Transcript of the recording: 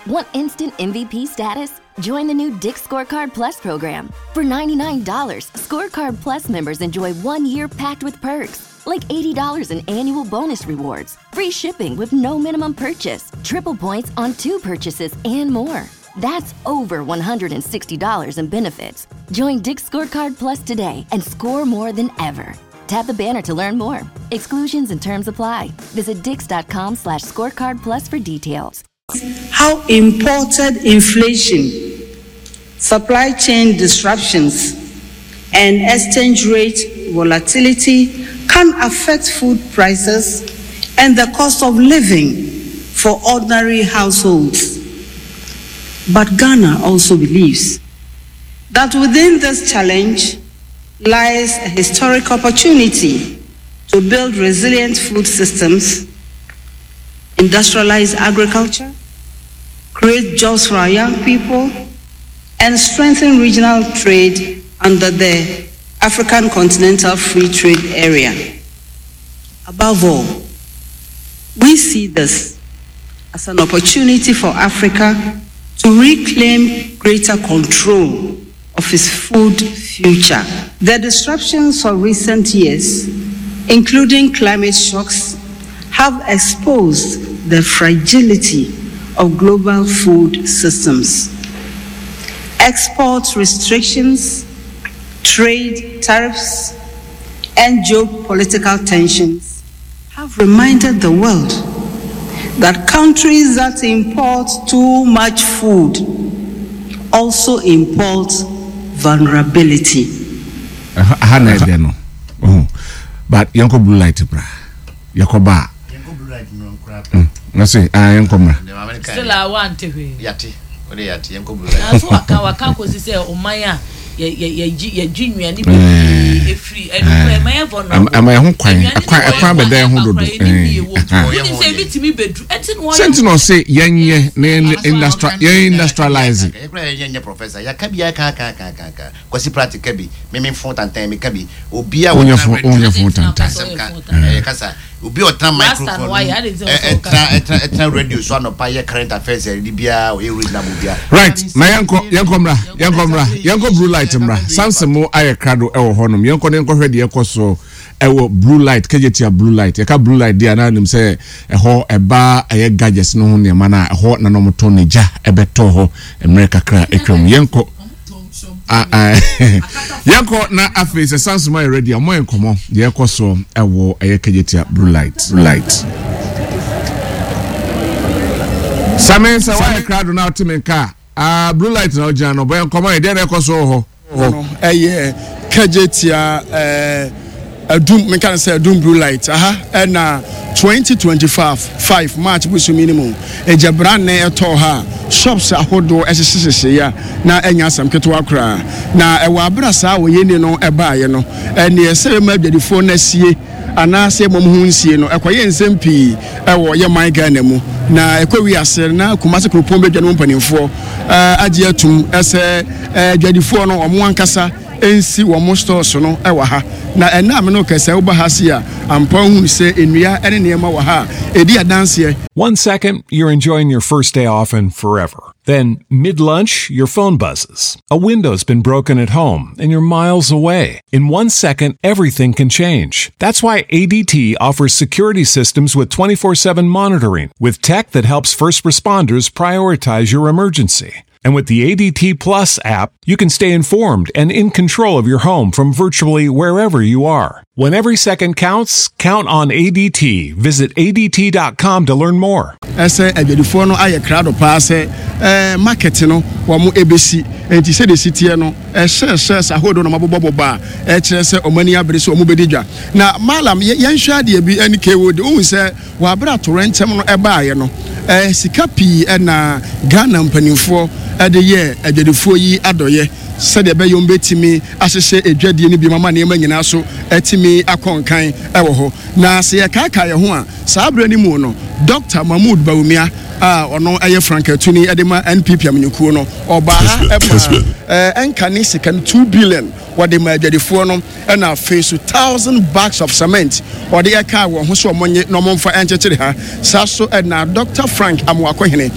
Want instant MVP status? Join the new Dick Scorecard Plus program. For $99, Scorecard Plus members enjoy 1 year packed with perks, like $80 in annual bonus rewards, free shipping with no minimum purchase, triple points on two purchases, and more. That's over $160 in benefits. Join Dick Scorecard Plus today and score more than ever. Tap the banner to learn more. Exclusions and terms apply. Visit dix.com/scorecard plus for details. How imported inflation, supply chain disruptions, and exchange rate volatility can affect food prices and the cost of living for ordinary households. But Ghana also believes that within this challenge lies a historic opportunity to build resilient food systems, industrialize agriculture, create jobs for our young people, and strengthen regional trade under the African Continental Free Trade Area. Above all, we see this as an opportunity for Africa to reclaim greater control of its food future. The disruptions of recent years, including climate shocks, have exposed the fragility of global food systems. Export restrictions, trade tariffs, and geopolitical tensions have reminded the world that countries that import too much food also import vulnerability. Ha na ɛdɛ no, but yɛnkɔ blue light bra, yɛkɔ ba na se ah, yɛnkɔ mmra. Still a wante hwee. Yate o de, yate, yɛnkɔ blue light. Nanso waka kɔsi sɛ ɔman a yɛgye nnuane bebree efiri ɛno ɛma yɛ vulnerable. Ɛma yɛ ho kwan ɛkwan ɛkwan bɛda yɛn ho dodo. Wonim sɛ ebi tumi bɛduru ɛnti na wɔyɛ. Sɛnti na ɔse yɛnyɛ na yɛn industrial yɛn industrialize. Yɛkura yɛn nyɛ professor, yɛka bi, yɛka ka ka ka ka Kwasi Pratt ka bi, meme fon tantan mi ka bi, obi a wɔnyɛ fon, wɔnyɛ fon tantan. Asɛm ka ɛyɛ kasa, obi a ɔtena microphone mu, ɛtena ɛtena ɛtena radio so anɔpa yɛ current affairs, ɛdi biara ɔyɛ reasonable biara. Right, na yɛnkɔ yɛnkɔ mmra, yɛnkɔ mmra, yɛnkɔ blue light mmra. Samson mo ayɛ krado ɛwɔ hɔnom, yɛnkɔ ne yɛnkɔhwɛ deɛ ɛkɔ so ɛwɔ blue light, Kejetia blue light. Yɛka blue light deɛ anaa nim sɛ ɛhɔ ɛba ɛyɛ gadgets no ho nneɛma no a ɛhɔ na na wɔtɔn ne gya ɛbɛtɔ hɔ mmerɛ kakra atwam. Yɛnkɔ. Ah, ah. Yɛnkɔ na afei sɛ Samson ayɛ ready a, ɔmɔ yɛn nkɔmmɔ deɛ ɛkɔ so ɛwɔ ɛyɛ Kejetia blue light, blue light. Same sɛ woayɛ krado na wote me nka a, ah, blue light na wogyina no, bɔ yɛn nkɔmmɔ yɛ deɛ na ɛkɔ so wɔ hɔ. No ɛyɛ Kejetia Adum, menka no sɛ Adum blue light aha ɛna 2025 5 March bosomi no mu egyabranne ɛtɔɔ ha a shops ahodoɔ ɛhyehyehyehye a na ɛnyɛ asɛm ketewa koraa. Na ɛwɔ abere saa oyɛni no ɛbaeɛ no, ɛneɛ sɛ ɛma adwadifoɔ no asie anaasɛ mmom ho nsie no, ɛkɔyɛ nsɛm pii ɛwɔ yɛ man Ghana mu. Na ɛkɔ wi ase na Kumasi kuropɔn badwa no mu mpanimfoɔ agye atum sɛ adwadifoɔ no wɔn ankasa nsi wɔn stores no wɔ ha. Na ɛna a me no kɛsɛ woba ha se a, ampa wohunu sɛ nnua ne nneɛma wɔ ha a ɛdi adanseɛ. One second, you're enjoying your first day off and forever. Then, mid lunch, your phone buzzes. A window's been broken at home and you're miles away. In 1 second, everything can change. That's why ADT offers security systems with 24/7 monitoring, with tech that helps first responders prioritize your emergency. And with the ADT Plus app, you can stay informed and in control of your home from virtually wherever you are. When every second counts, count on ADT. Visit ADT.com to learn more. Ɛsɛ adwadifoɔ no ayɛ krado paa sɛ market no wɔn ɛbɛsi nti sɛdeɛ si teɛ no, ɛhyɛ hyɛ ahodoɔ na wɔabobɔbobɔ a ɛkyerɛ sɛ wɔn ani abere sɛ wɔn bɛdi dwa. Na malam, yɛnhwɛ adeɛ bi ɛne kewo de ohun sɛ wɔabere atorɛnkyɛm no ɛbaayɛ no, sika pii ɛna Ghana mpanimfoɔ ɛde yɛ adwadifoɔ yi adɔyɛ sɛdeɛ ɛbɛyɛ wɔn bɛtumi ahyehyɛ edwadie no bi ma nneɛma nyinaa so ɛtumi akɔ nkan ɛwɔ hɔ. Na sɛ yɛkaakae yɛn ho a, saa berɛ no mu no, Dr Mahmood Bawumia a ɔno ɛyɛ frankatuni ɛde ma NPP amanyɔkuo no, ɔbaa ha ɛma ɛnka ne sika no 2 billion wɔde ma adwadifoɔ no, ɛna afei so 1,000 bags of cement ɔde ɛka wɔn ho so ɔmo nye na ɔmo mfa ɛnkyekyere ha. Saa so ɛna Dr Frank Amoakohene.